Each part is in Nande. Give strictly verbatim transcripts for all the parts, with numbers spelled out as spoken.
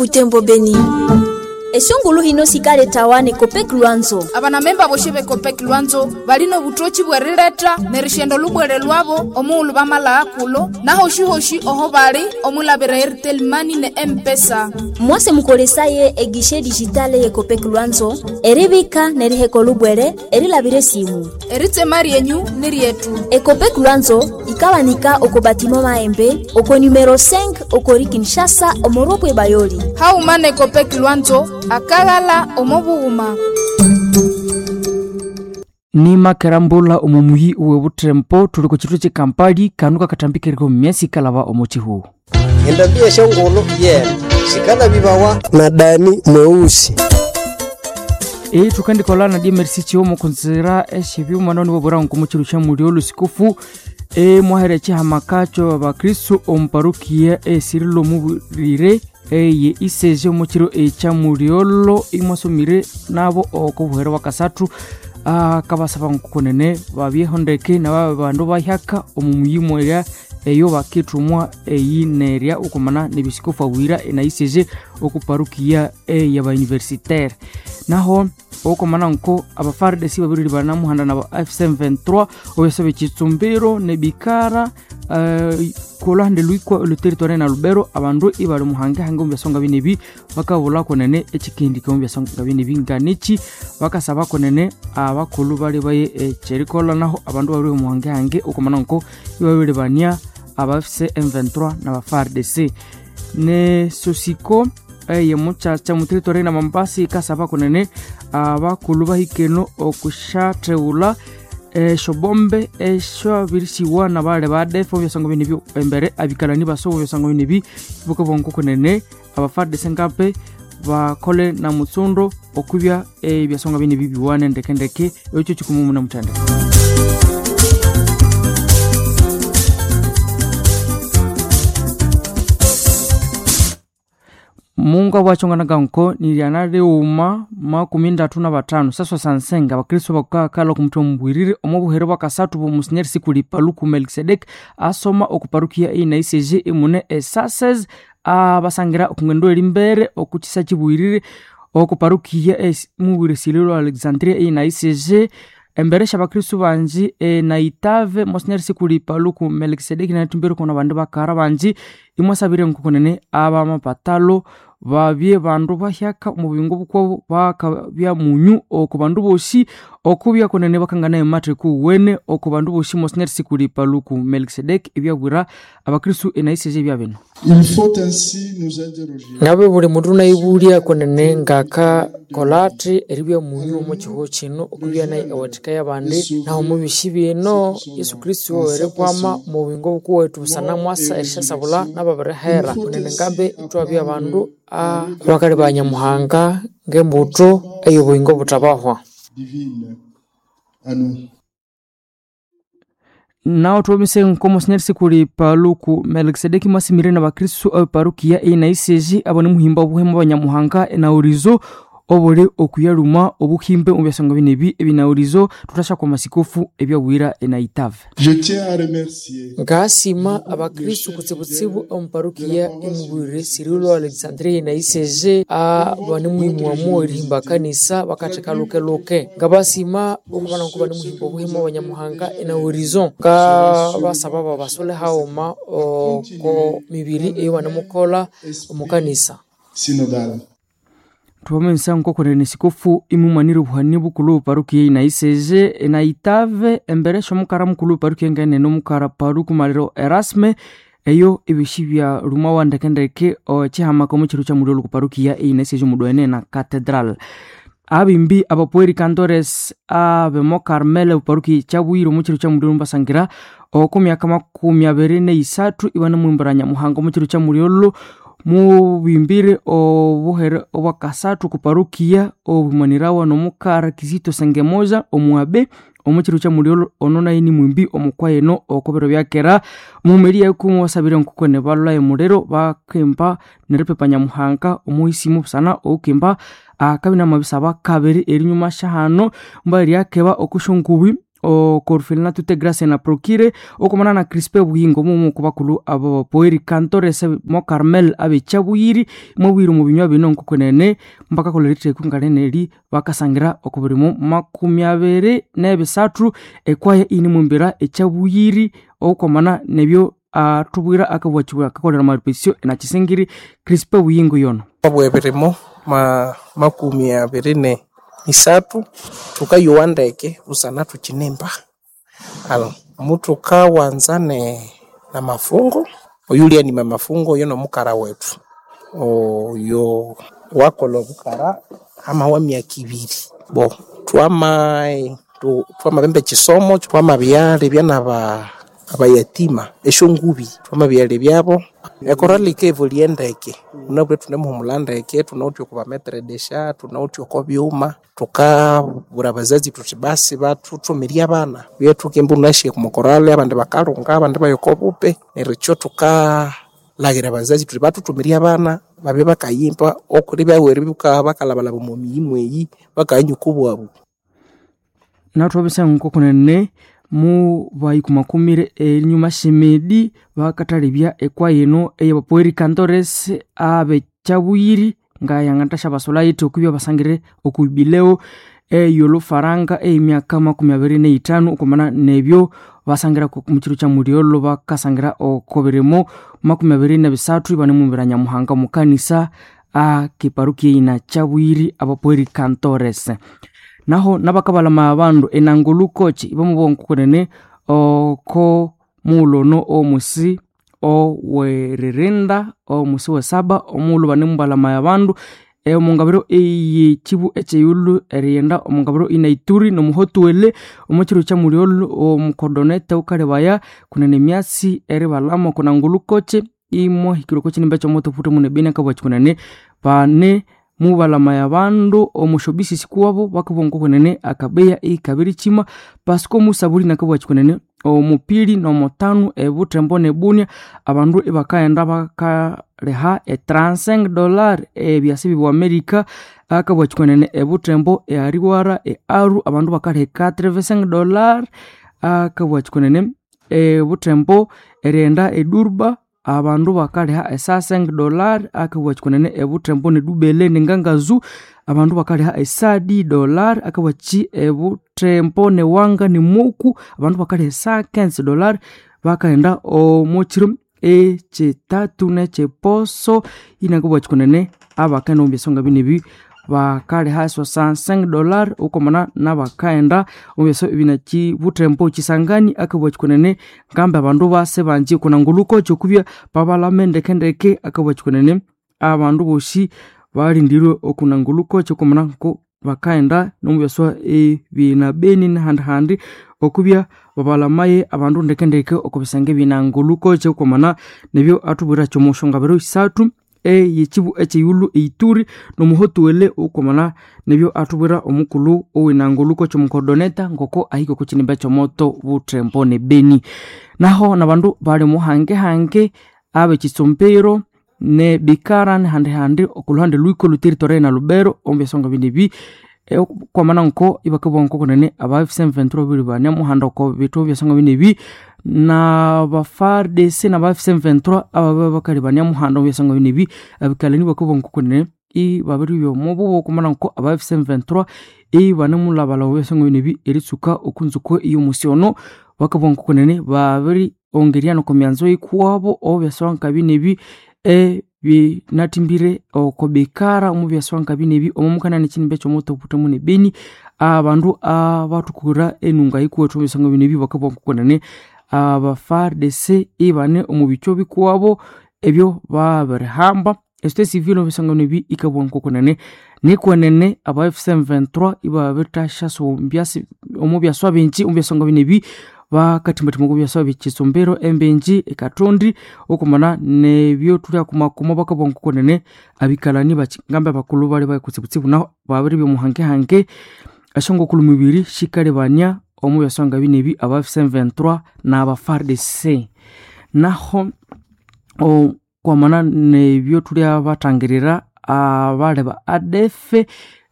Butembo Beni. Esungulu hino sikaletawa ne Copec Lwanzo. Abanamemba boshe be Copec Lwanzo balino obutoki bwerileta nerishendo lubwere lwabo omughulhu bamala kulo nahoshihoshi oho bali omulabira Airtel Money ne M-Pesa. Mwase mukolesaye egishe digitale ye Copec Lwanzo eribika neriheka lubwere erilabira esimu. Eritsema ryenyu ni ryetu. Ecopec Lwanzo ikawanika oko batimo maembe oko numero cinq okori Kinshasa omoropwe bayoli. Hauma ne Copec Lwanzo akagala omobughuma. Ni makerambula omumuyi uwe butempo tuli ku kitwe ky'ekampali kanu kakatambikireko myesi kalaba omu kihuhu. Endambi eshongolo yena sikala bibawa na Dani mweusi. E tukandikola na D M R C chiwomo kunzira eshibyuma noni bobora nkomuchiru kya mulio lusikufu e mwahere chihamakacho abakristo omuparukia esirilo mubirire eye iseje omukiro ekya muliolo imwasomire nabo okobuhero bwakasathu akabasaba nkukunene babyehondeke naba bandu bahyaka omu muyimo erya eyo bakithumwa eyinerya okumana nebisikofu abwira enaiseje okuparukia eyabauniversitaire. Naho okumana nko abafardesi babiri banamuhanda na F C vingt-trois obesobe kitsumbiro nebikara uh, kolande luikwa oluteritware na Lubero abandu ibali muhange hange omu byasonga binebi bakabula konene ekikindi k'omu byasonga binebi nganichi bakasaba konene abakulhu bali baye ekyerikola. Naho abandu babiri muhange hange okumana nko ibabiri bania aba F C vingt-trois na ba F A R D C ne sosiko eye muchacha muteritware na Mambasa ikasaba konene abakulhu bahikeno okushatheghulha eshobombe eshabirisiwa na bale badefa obyasonga binebyo embere abikalani baso obyasonga binebi bukabongo kunene abafardese ngape bakole na mutsundo okubya ebyasonga binebi biwane ndekendeke ekyo kikumumu na mutende. Mungu abwachonganaga nko niliana liuma makumi ndatu na batano saswa sansenga abakristo bakakala okumutwe mubwirire omu buhero bwakasathu bw'omusinyeri sikuli Paluku Melkisedek asoma okuparukia ina I C G imune esases abasangira okungendo erimbere okukisa kibwirire okuparukia mubwire Sililo Alexandria ina I C G embere shabakristo banji e, na itave monsinyeri sikuli Paluku Melkisedeki natumbire kona bandu bakara banji imwasabire nkukunene abamapatalo babye bandu bahyaka omu buyingo bukwabo bakabya munyu oku bandu bosi okubya kunene bakangana ematheku wene oku bandu bosi monsinyeri sikuli Paluku Melkisedeki ebyabwira abakristo enaiseze bya bino. Il faut ainsi nous interroger. Ngabe buli mundu naibulya kunene ngaka kolati eribya munyu omu kihuho kino okubya nayi ewathika y'abandi naho omu bisi bino Yesu Kristo erikwama omu buyingo bukuwethu busana mwasa erishasabula n'ababirihera kunene ngambe ithwabya abandu abakali ba Nyamuhanga ng'embuto ey'obuyingo butabahwa. Divine à nous. Nao tuomise nkomo sinyeri sikuli Paluku Melkisedeki mwasimire na bakristo abaparukia ina I C G abone muhimba obuhemu abanyamuhanga enaurizo obule okuyaluma obuhimbe mu byasonga binebi ebinaurizo tutasha kwa masikofu ebyabwira enaitave. Je tiens à remercier ngasima abakristo kutsibutsibu omuparukia imubwire Cirilo Alexandria na I C G abane muhimu erihimba kanisa bakatheka lukeluke ngabasima okubana nkuba nimuhimba obuhemu abanyamuhanga enaurizo ngabasaba babasole hauma oko mibiri eyo banemukola omukanisa synodal. Tuwamensa nkokonene sikofu imumanire obuhani bukulu parukia ina I C G na itave embere shomukara mukulu parukia ngene nomukara paruku maliro Erasme eyo ebishi bya ruma wa ndekendeke ochihamaka omu kya muliro parukia ina I C G mudwene na cathedral. Abimbi abapueri cantores abemo Carmel parukia kyabwire omu kya muliro mbasangira okumyaka makumi abiri neisathu ibane mwimbura Nyamuhanga omu kya muliro mubimbire obuhere obwakasathu kuparukia obumanirawa nomukara Kizito Sengemoza omuabe omukiru kya muliro ono naye ni mwimbi omukwayeno okobero byakera mumeri yakumu wasabire nkukone balula emuliro bakemba neripepa Nyamuhanga omuhisimu busana okemba akabina mabisaba kabiri erinyuma shahano mbali yakeba okushongubi Okorfelina tute grace na procure okomana na Crispe Buyingo mumu kubakulu abo poeri cantores mo Carmel abechabuyiri mubwiri mu binywa bino nkokonene mpaka kolerite kunganene bakasangira okubirimo makumi abiri n'ebisathu ekwaya ini mumbira echabuyiri okomana nebyo atubwira akabwachibwa akakolera maripesio na Chisingiri Crispe Buyingo yono obwebirimo ma makumi abiri ne isathu thukayowa ndeke busana thukinimba. Alo muthukawanza ne namafungo oyulyanima amafungo oyo nomukara wethu oyo wakolha obukara hamawa myaka ibiri bo twama twamabemba ekisomo twamabyalebya naba abayatima esyongubi twamabyalebyabo ekorali ikevolya ndeke munabwire thunemuhumulha ndeke thunawithe oko bametredesha thunawithe oko byuma thukabwira abazazi thuthi basi bathuthumirye abana byethukimba unashiye omukorali abandi bakalunga abandi baya oko bupe neryo ekyo thukalhaghira abazazi thuthi bathuthumirye abana babye bakayimba okuli byawere bakalhabalhaba omo miyi mweyi bakayanywa obwabu. Nathwabisa nkokunene mu bayikumakumire enyuma shemedi bakathalebya ekwaya eno eyabapoeri cantores abechabuyiri nga yanganthasya basolaiti okubya basangire okubibileo eyolufaranga eyemyaka makumi abiri neithanu okwamana nebyo basangira mukiro kya mulyolo bakasangira okobirimo makumi abiri nebisathu ibanemumbira Nyamuhanga omukanisa akeparukia ina chabuyiri abapoeri cantores. Naho nabakabalama abandu enangulu kochi ibamubonkokonene oko mulono omusi oweririnda omusi wesaba omuulu banemubalama abandu omungabiro eyekibu ekyeyulu eriyenda omungabiro inaituri nomuhotuwele omukiro kya mulyolo omukodonete ukalebaya kunene emyasi eribalama okunangulu kochi imwahikire okokinimba ekyomoto futhi mune beni akabwakikunene bane mubalamaya abandu omushobisisi kuwabo bakabonga kwenene akabeya ikabiri chima pasiko musabuli nakabwakikunene omupili nomutanu ebutembo nebunia abandu ibakaghenda bakaleha e trente-cinq dollars ebyasi bibwa America akabwakikunene ebutembo eariwara earu abandu bakaleha quatre-vingt-cinq dollars akabwakikunene ebutembo erighenda edurba abandu bakaleha e cinq dollars akabwakikunene ebutembo nedubele nengangazu abandu bakaleha esadi dollar akabwaki ebutembo newanga nemoku abandu bakaleha quinze dollars bakaghenda omukiro ekyitatu nekyiposo inakabwakikunene abakaghenda omu byasonga binebi bakaleha soixante-cinq dollars okwamana nabakaghenda omu byaso ebinakibuthembo kisangani akabwakikunene ngambi abandu base bangi kunangulukoki okubya babalame ndekendeke akabwakikunene abandu bosi balindirwe okunangulukoki okwamana nko bakaghenda nomu byaswa ebinabeni nahandihandi okubya babalamaye abandu ndekendeke oko bisenge ebinangulukoki okwamana nebyo athubwira kyomushongabiro isathu eyekibu ekyeyulu eituri nomuhotuwele okwamana nebyo athubwira omukulhu owinanguluko kyomukodoneta ngoko ahika okokinimba ekyomoto buthembo nebeni. Naho nabandu bali muhangehange abekitsumbiro ne bikara nehandihandi okulhuhande lwiko lhuteritoria na Lubero omu byasonga binebi kwamana nko ibakabugha nkokunene aba F M vingt-trois babiri banemuhanda oko bithu byasonga binebi naba F A R D C naba F M vingt-trois ababya bakali banemuhanda omu byasonga binebi abikalani bakabugha nkokunene ibabiribya omububo kwamana nko aba F M vingt-trois ibanemulhabalhaba omu byasonga binebi eritsuka okunzuko eyomusi ono bakabugha nkokunene babiri ongerya nokomyanzo yikuwabo omu byasonga binebi ebinathimbire oko bikara omu byasonga binebi omo mukanani ekinimba ekyomoto obuthemu nebeni abandu abathukura enunga yikuwethu omu byasonga binebi bakabugha nkokunene aba F A R D C ibane omu bikyo bikuwabo ebyo babirihamba esite civil omu byasonga binebi ikabugha nkokunene nikwenene aba F M vingt-trois ibabirithasyasombya omu byaswa bingi omu byasonga binebi bakathimbathimba oko byaswa byekitsumbiro embenji ekathondi okwamana nebyo thulyakumakuma bakabugha nkokunene abikalani ngambi abakulhu bali bakutsibutsibu naho babiribya omuhangehange esyongokulu mibiri sikalibania omu byasonga binebi aba F M vingt-trois naba F A R D C. Naho okwamana nebyo thulyabathangirira abali ba A D F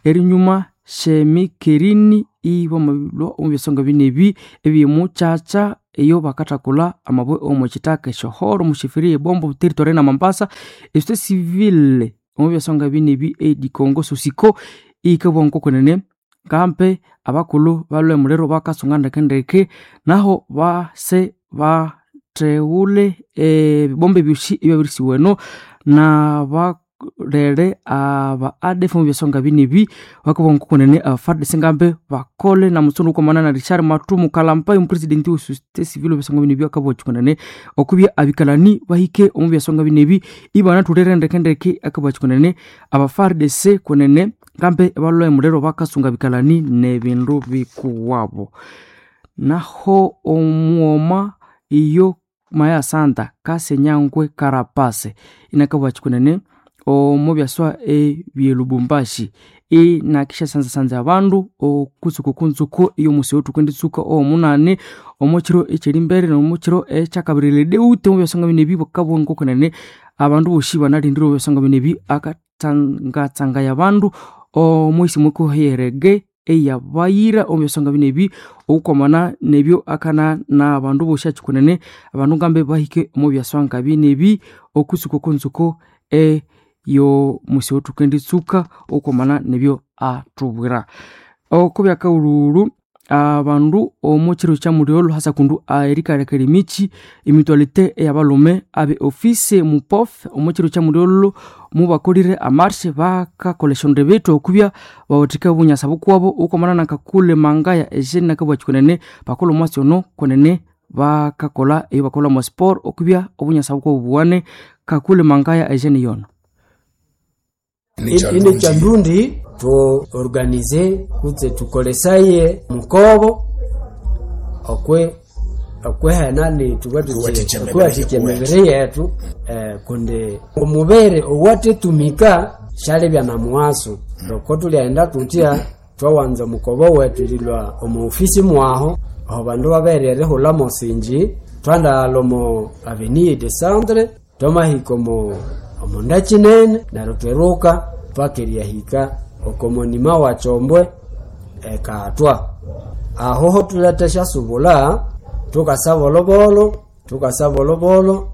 erinyuma Shemikerini ibamabilwa omu byasonga binebi ebyemukyakya eyo bakathakula amabwe omu kitaka esyohoro omu sheferi ebombo territory na Mambasa. Esociété civile omu byasonga binebi edikongo sosiko ikabugha ngokwenene ngampe abakulhu balwe muliro bakasunga ndekendeke naho base batheghule ebibombe ebyosi ebyabirisiwa eno nabalere aba A D F omu byasonga binebi bakabugha ngokwenene aba F A R D C ngambe bakole na mutsundu wukamana na Richard Matumu Kalampai omupresidenti we société civile omu byasonga binebi akabugha kyikunene okubya abikalani bahike omu byasonga binebi ibanathulire ndekendeke akabugha kyikunene aba F A R D C kwenene ngambe balwe muliro bakasunga abikalani nebindu bikuwabo. Naho omughoma iyo Maya Santa Kasenyangwe Karapase inakabugha kyikunene omu byaswa ebye Lubumbashi inakishasanzasanza abandu okutsuka okunzuko eyomusi oyothukenditsuka owomunani omo kiro ekyerimbere nomukiro ekyakabiri deute omu byasonga binebi bakabugha ngokwenene abandu bosi banalindire omu byasonga binebi akatsangatsangaya abandu omwisi mukuherege eyabayira omu byasonga binebi okukwamana nebyo akana nabandu bosi akyikunene abandu ngambe bahike omu byasonga binebi okutsuka okunzuko eyomusi oyothukenditsuka okukwamana nebyo athubwira. Okubyakaghulhu abandu omu kiro kyamulyolho hasakundu erikalekera emikyi emitualite eyabalhume abe office mupof omu kiro kyamulyolho mubakolire amarshe bakakolha esyonde bethu okubya bawathika obunyasa bukuwabo okwamana nakakule mangaya Eugene nakabugha kyikunene bakolha omwasi ono kwenene bakakolha eyo bakolha mwa sport okubya obunyasa bukuwabo buwane. Kakule Mangaya Eugene yono ine kyandundi tuorganize kutse tukolesaye mukobo okwe okwehenani tuwathikya emibiri yetu eh, kundi omubiri owathetumika syalibya na muwaso loko tulyaghenda tutya twawanza omukobo wethu erilwa omu ofisi mwaho aho bandu babere erihulha mosinji twandaghalha omo avenue de centre twamahika omo omunda kinene neryo tweruka paka eryahika oko monima wa Kyombwe ekatwa aho ho thuletha esyasubula thukasa bolobolo thukasa bolobolo.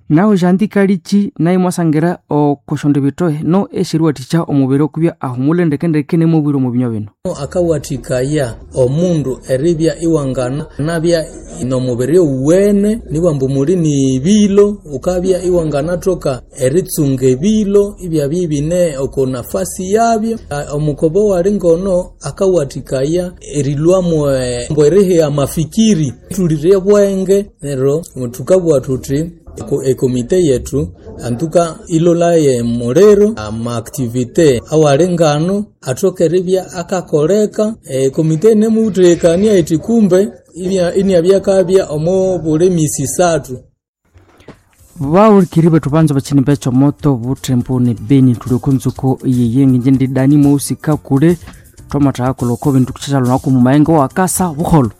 Naho jandikalichi naye mwasangira okoshonde bitohe no esyeriwathikya omubiri okubya ahumule ndekendeke nemubwire omu binywa bino. Akawathikaya omundu eribya iwangana nabya nomubiri owuwene nibwambu muli nibilo ukabya iwanganathoka eritsunga ebilo ibyabya ibine oko nafasi yabyo. Omukobo wali ngono akawathikaya erilwamu mbu erihiya amafikiri thulire bwenge neryo thukabugha thuthi ekomite yetu antuka ilolaye muliro amaaktivite awali ngano athoke eribya akakoleka. Ekomite inemuthekania ithi kumbe iniabyakabya omo buli misi isathu. Bawulikiri bethu banza bachini becho moto butembo ne beni tuli okunzuko yeye nginje ndi dani mweusi kakule twamathaha kuloko bintu kuchachalonako mumayengo wakasa buholo.